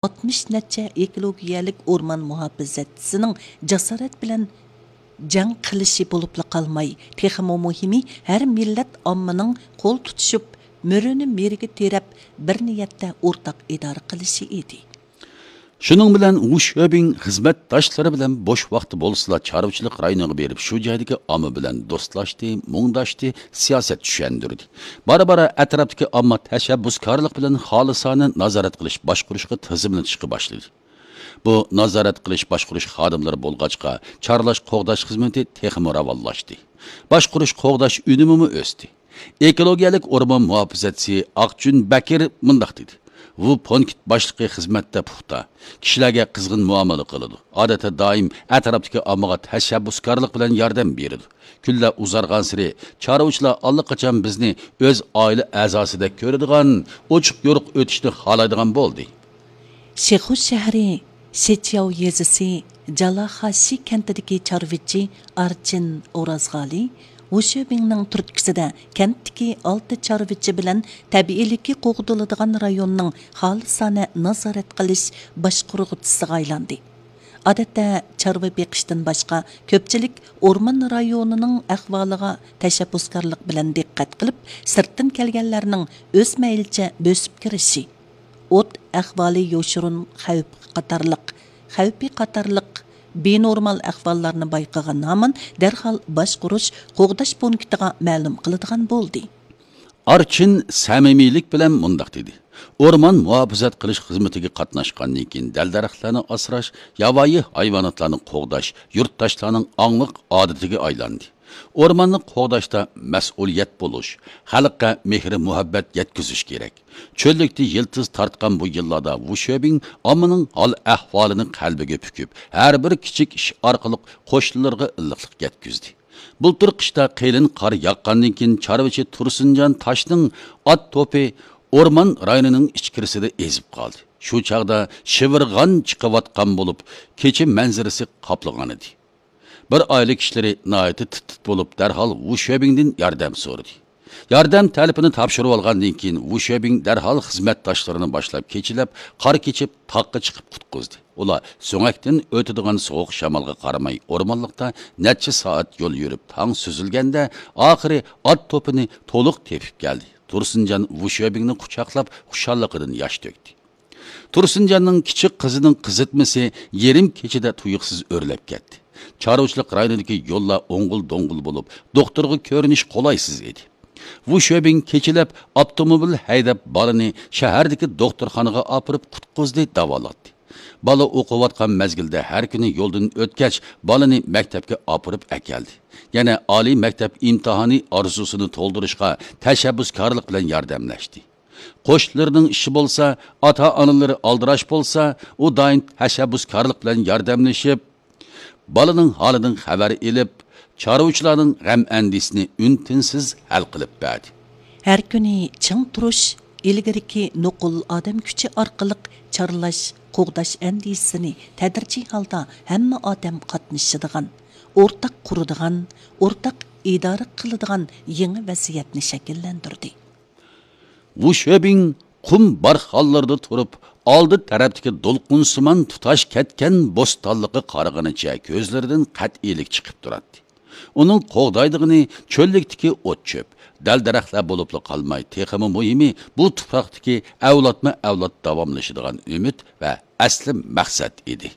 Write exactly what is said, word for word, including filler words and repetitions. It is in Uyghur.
ئاتمىش نەچچە ئېكولوگىيەلىك ئورمان مۇھاپىزەتچىسىنىڭ جاسارەت بىلەن جەڭ قىلىشى بولۇپلا قالماي، تېخىمۇ مۇھىمى، ھەر مىللەت ئاممىنىڭ قول تۇتۇشۇپ، مۈرىنى مۈرىگە تىرەپ، بىر نىيەتتە ئورتاق ئىدارە قىلىشى ئىدى. شۇنىڭ بىلەن ۋۇ شۆبىڭ خىزمەتداشلىرى بىلەن بوش ۋاقتى بولسىلا، چارۋىچىلىق رايونىغا بېرىپ، شۇ جايدىكى ئامما بىلەن دوستلاشتى، مۇڭداشتى، سىياسەت چۈشەندۈردى. بارا-بارا ئەتراپتىكى ئامما تەشەببۇسكارلىق بىلەن خالىسانە نازارەت قىلىش باشقۇرۇشقا تىزىملىتىشقا باشلىدى. بۇ نازارەت قىلىش باشقۇرۇش خادىملىرى بولغاچقا، چارلاش قوغداش خىزمىتى تېخىمۇ راۋانلاشتى. باشقۇرۇش قوغداش ئۈنۈمىمۇ ئۆستى. ئېكولوگىيەلىك ئورمان مۇھاپىزەتچىسى ئاقجۈن بەكىر مۇنداق دېدى: «ۋۇ پونكىت باشلىقى خىزمەتتە پۇختا، كىشىلەرگە قىزغىن مۇئامىلە قىلىدۇ. ئادەتتە دائىم ئەتراپتىكى ئاممىغا تەشەببۇسكارلىق بىلەن ياردەم بېرىدۇ. كۈنلەر ئۇزارغانسېرى چارۋىچىلار ئاللىقاچان بىزنى ئۆز ئائىلە ئەزاسىدەك كۆرىدىغان، ئوچۇق-يورۇق ئۆتۈشنى خالايدىغان بولدى.» شىخۇ شەھىرى شىچياۋ يېزىسى جالاخاشى كەنتىدىكى چارۋىچى ئارچىن ئورازغالى ۋۇشۆبىڭنىڭ تۈرتكىسىدە كەنتتىكى ئالتە چارۋىچى بىلەن تەبىئىيلىكى قوغدىلىدىغان رايوننىڭ خالىسانە نازارەت قىلىش باشقۇرغۇچىسىغا ئايلاندى. ئادەتتە چارۋا بېقىشتىن باشقا، كۆپچىلىك ئورمان رايونىنىڭ ئەھۋالىغا تەشەببۇسكارلىق بىلەن دىققەت قىلىپ، سىرتتىن كەلگەنلەرنىڭ ئۆز مەيلىچە بۆسۈپ كىرىشى، ئوت ئەھۋالى يوشۇرۇن خەۋپ قاتارلىق، خەۋپى قاتارلىق بىنورمال ئەھۋاللارنى بايقىغان ھامان دەرھال باشقۇرۇش، قوغداش پونكىتىغا مەلۇم قىلىدىغان بولدى. ئارچىن سەمىمىيلىك بىلەن مۇنداق دېدى: «ئورمان مۇھاپىزەت قىلىش خىزمىتىگە قاتناشقاندىن كېيىن، دەل-دەرەخلەرنى ئاسراش، ياۋايى ھايۋاناتلارنى قوغداش، يۇرتداشلارنىڭ ئاڭلىق ئادىتىگە ئايلاندى. ئورماننى قوغداشتا مەسئۇلىيەت بولۇش، خەلققە مېھرى-مۇھەببەت يەتكۈزۈش كېرەك.» چۆللۈكتە يىلتىز تارتقان بۇ يىللاردا ۋۇشۆبىڭ ئاممىنىڭ ھال-ئەھۋالىنى قەلبىگە پۈكۈپ، ھەر بىر كىچىك ئىش ئارقىلىق قوشنىلىرىغا ئىللىقلىق يەتكۈزدى. بۇلتۇر قىشتا قېلىن قار ياغقاندىن كېيىن، چارۋىچى تۇرسۇنجان تاشنىڭ ئات توپى ئورمان رايونىنىڭ ئىچكىرىسىدە ئېزىپ قالدى. شۇ چاغدا شىۋىرغان چىقىۋاتقان بولۇپ، كېچە مەنزىرىسى قاپلىغانىدى. بىر ئائىلە كىشىلىرى ناھايىتى تىت-تىت بولۇپ، دەرھال ۋۇشۆبىڭدىن ياردەم سورىدى. ياردەم تەلىپىنى تاپشۇرۇۋالغاندىن كېيىن، ۋۇشۆبىڭ دەرھال خىزمەتداشلىرىنى باشلاپ، كېچىلەپ قار كېچىپ، تاغقا چىقىپ قۇتقۇزدى. ئۇلار سۆڭەكتىن ئۆتىدىغان سوغۇق شامالغا قارىماي، ئورمانلىقتا نەچچە سائەت يول يۈرۈپ، تاڭ سۈزۈلگەندە، ئاخىرى ئات توپىنى تولۇق تېپىپ كەلدى. تۇرسۇنجان ۋۇشۆبىڭنى قۇچاقلاپ، خۇشاللىقىدىن ياش تۆكتى. تۇرسۇنجاننىڭ كىچىك قىزىنىڭ قىزىتمىسى يېرىم كېچىدە تۇيۇقسىز ئۆرلەپ كەتتى. چارۋىچىلىق رايونىدىكى يوللار ئوڭغۇل-دوڭغۇل بولۇپ، دوختۇرغا كۆرۈنۈش قولايسىز ئىدى. ۋۇشۆبىڭ كېچىلەپ ئاپتوموبىل ھەيدەپ، بالىنى شەھەردىكى دوختۇرخانىغا ئاپىرىپ قۇتقۇزدى، داۋالاتتى. بالا ئوقۇۋاتقان مەزگىلدە ھەر كۈنى يولدىن ئۆتكەچ، بالىنى مەكتەپكە ئاپىرىپ ئەكەلدى. يەنە ئالىي مەكتەپ ئىمتىھانى ئارزۇسىنى تولدۇرۇشقا تەشەببۇسكارلىق بىلەن ياردەملەشتى. قوشنىلىرىنىڭ ئىشى بولسا، ئاتا-ئانىلىرى ئالدىراش بولسا، ئۇ دائىم تەشەببۇسكارلىق بىلەن ياردەملىشىپ، بالىنىڭ ھالىدىن خەۋەر ئېلىپ، چارۋىچىلارنىڭ غەم-ئەندىشىسىنى ئۈن-تىنسىز ھەل قىلىپ بەردى. ھەر كۈنى چىڭ تۇرۇش، ئىلگىرىكى نوقۇل ئادەم كۈچى ئارقىلىق چارلاش، قوغداش ئەندىزىسىنى تەدرىجىي ھالدا ھەممە ئادەم قاتنىشىدىغان، ئورتاق قۇرىدىغان، ئورتاق ئىدارە قىلىدىغان يېڭى ۋەزىيەتنى شەكىللەندۈردى. ۋۇشۆبىڭ قۇم بارخانلىرىدا تۇرۇپ، ئالدى تەرەپتىكى دولقۇنسىمان تۇتاش كەتكەن بوستانلىققا قارىغىنىچە كۆزلىرىدىن قەتئىيلىك چىقىپ تۇراتتى. ئۇنىڭ قوغدايدىغىنى چۆللۈكتىكى ئوت-چۆپ، دەل-دەرەخلەر بولۇپلا قالماي، تېخىمۇ مۇھىمى، بۇ تۇپراقتىكى ئەۋلادمۇ-ئەۋلاد داۋاملىشىدىغان ئۈمىد ۋە ئەسلى مەقسەت ئىدى.